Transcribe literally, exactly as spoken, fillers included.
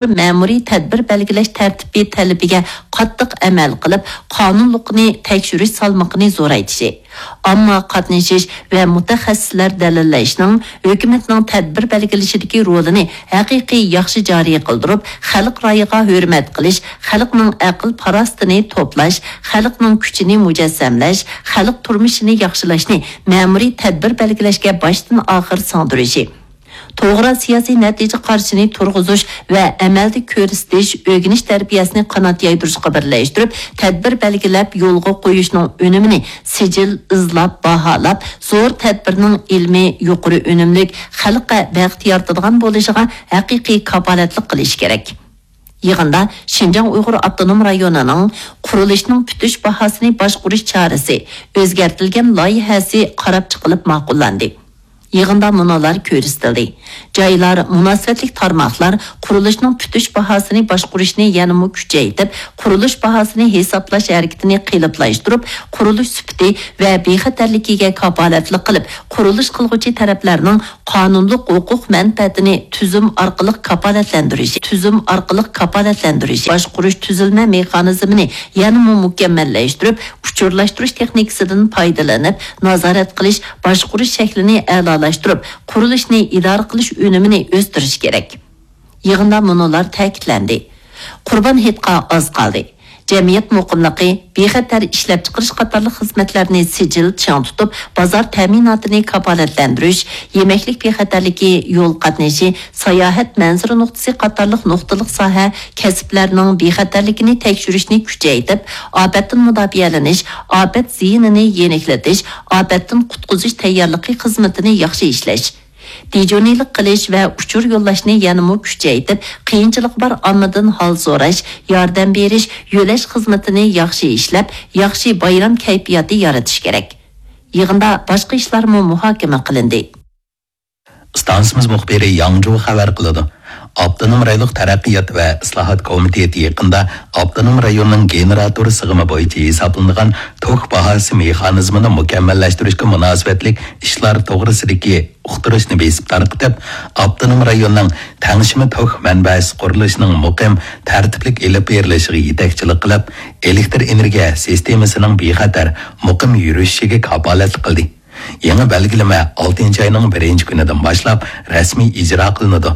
مەمۇرىي تەدبىر بەلگىلەش تەرتىپى تەلىپىگە قاتتىق ئەمەل قىلىپ، قانۇنلۇقىنى تەكشۈرۈش سالمىقىنى زورايتىشى، ئامما قاتنىشىش ۋە مۇتەخەسسىسلەر دەلىللەشنىڭ ھۆكۈمەتنىڭ تەدبىر بەلگىلىشىدىكى رولىنى ھەقىقىي ياخشى جارى قىلدۇرۇپ، خەلق رايىغا ھۆرمەت قىلىش، خەلقنىڭ ئەقىل-پاراسىتىنى توپلاش، خەلقنىڭ كۈچىنى مۇجەسسەملەش، خەلق تۇرمۇشىنى ياخشىلاشنى مەمۇرىي تەدبىر بەلگىلەشكە باشتىن-ئاخىر سىڭدۈرۈشى، توغرا سىياسىي نەتىجە قارىشىنى تۇرغۇزۇش ۋە ئەمەلدە كۆرسىتىش، ئۆگىنىش تەربىيەسىنى قانات يايدۇرۇشقا بىرلەشتۈرۈپ، تەدبىر بەلگىلەپ يولغا قويۇشنىڭ ئۈنۈمىنى سىجىل، ئىزلاپ، باھالاپ، زور تەدبىرنىڭ ئىلمىي، يۇقىرى ئۈنۈملۈك، خەلققە بەخت يارىتىدىغان بولۇشىغا ھەقىقىي كاپالەتلىك قىلىش كېرەك. يىغىندا شىنجاڭ ئۇيغۇر ئاپتونوم رايونىنىڭ قۇرۇلۇشنىڭ پۈتۈش باھاسىنى باشقۇرۇش چارىسى ئۆزگەرتىلگەن لايىھەسى قاراپ چىقىلىپ ماقۇللاندى. يىغىندا مۇنۇلار كۆرسىتىلدى: جايلار، مۇناسىۋەتلىك تارماقلار قۇرۇلۇشنىڭ پۈتۈش باھاسىنى باشقۇرۇشنى يەنىمۇ كۈچەيتىپ، قۇرۇلۇش باھاسىنى ھېسابلاش ھەرىكىتىنى قېلىپلاشتۇرۇپ، قۇرۇلۇش سۈپىتى ۋە بىخەتەرلىكىگە كاپالەتلىك قىلىپ، قۇرۇلۇش قىلغۇچى تەرەپلەرنىڭ قانۇنلۇق ھوقۇق مەنپەئەتىنى تۈزۈم ئارقىلىق كاپالەتلەندۈرۈش، تۈزۈم ئارقىلىق كاپالەتلەندۈرۈش، باشقۇرۇش تۈزۈلمە مېخانىزمىنى يەنىمۇ مۇكەممەللەشتۈرۈپ، ئۇچۇرلاشتۇرۇش تېخنىكىسىدىن پايدىلىنىپ، نازارەت قىلىش، باشقۇرۇش شەكلىنى ئەلالاشتۇرۇپ، قۇرۇلۇشنى ئىدارە قىلىش ئۈنۈمىنى ئۆستۈرۈش كېرەك. يىغىندا مۇنۇلار تەكىتلەندى: قۇربان ھېيتقا ئاز قالدى. جەمئىيەت مۇقىملىقى، بىخەتەر ئىشلەپچىقىرىش قاتارلىق خىزمەتلەرنى سىجىل چىڭ تۇتۇپ، بازار تەمىناتىنى كاپالەتلەندۈرۈش، يېمەكلىك بىخەتەرلىكى، يول قاتنىشى، ساياھەت مەنزىرە نۇقتىسى قاتارلىق نۇقتىلىق ساھە كەسىپلەرنىڭ بىخەتەرلىكىنى تەكشۈرۈشنى كۈچەيتىپ، ئاپەتتىن مۇداپىئەلىنىش، ئاپەت زىيىنىنى يېنىكلىتىش، ئاپەتتىن قۇتقۇزۇش تەييارلىقى خىزمىتىنى ياخشى ئىشلەش، دىجورنىلىق قىلىش ۋە ئۇچۇر يوللاشنى يەنىمۇ كۈچەيتىپ، قىيىنچىلىقى بار ئاممىدىن ھال سوراش، ياردەم بېرىش، يۆلەش خىزمىتىنى ياخشى ئىشلەپ، ياخشى بايرام كەيپىياتى يارىتىش كېرەك. يىغىندا باشقا ئىشلارمۇ مۇھاكىمە قىلىندى. ئىستانسىمىز مۇخبىرى ياڭجۇ خەۋەر قىلىدۇ. ئاپتونوم رايونلۇق تەرەققىيات ۋە ئىسلاھات كومىتېتى يېقىندا ئاپتونوم رايوننىڭ گېنېراتور سىغىمى بويىچە ھېسابلىنىدىغان توك باھاسى مېخانىزمىنى مۇكەممەللەشتۈرۈشكە مۇناسىۋەتلىك ئىشلار توغرىسىدىكى ئۇقتۇرۇشنى بېسىپ تارقىتىپ، ئاپتونوم رايوننىڭ تەڭشىمە توك مەنبەسى قۇرۇلۇشىنىڭ مۇقىم، تەرتىپلىك ئېلىپ بېرىلىشىغا يېتەكچىلىك قىلىپ، ئېلېكتر ئېنېرگىيە سىستېمىسىنىڭ بىخەتەر، مۇقىم يۈرۈشۈشىگە كاپالەتلىك قىلدى. يېڭى بەلگىلىمە ئالتىنچى ئاينىڭ بىرىنچى كۈنىدىن باشلاپ رەسمىي ئىجرا قىلىنىدۇ.